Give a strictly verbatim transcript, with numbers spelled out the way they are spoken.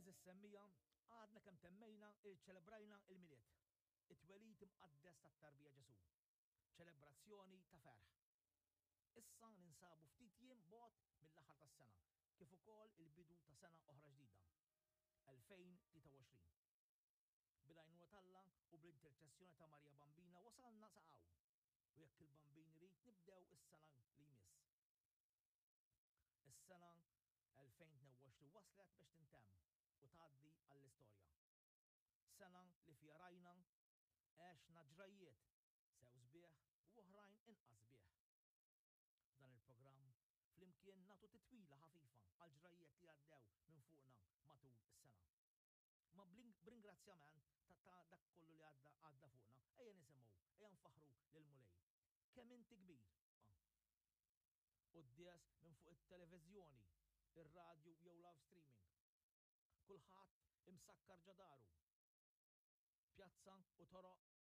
Għeżież semmiegħa, għadna kemm temmejna iċċelebrajna il-Milied, it-twelid imqaddes tat-tarbija Ġesu. Ċelebrazzjoni ta' ferħ. Issa ninsabu ftit jiem bogħod mill-aħħar tas-sena, kif ukoll il-bidu ta' sena oħra ġdida, elfejn u tlieta u għoxrin. Bil-għajnuna t'Alla u bl-interċessjoni ta' Marija Bambina wasalna sa hawn. U jekk il-Bambin irid, nibdew is-sena li jmiss. Is-sena elfejn u tnejn u għoxrin waslet biex tintemm u tgħaddi għall-istorja. Sena li fiha rajna, għexna ġrajiet sew sbieħ u oħrajn inqas sbieħ. F'dan il-programm flimkien nagħtu titwila ħafifa għal ġrajiet li għaddew minn fuqna matul is-sena. Ma b'ringrazzjament ta', ta dak kollu li għadda għadda fuqna, ejja nisimgħu, ejja nfaħru lil Mulej. Kemm inti kbir. Quddies minn fuq it-televiżjoni, ir-radju jew live streaming. Kulħadd imsakkar ġo daru. Pjazza u toroq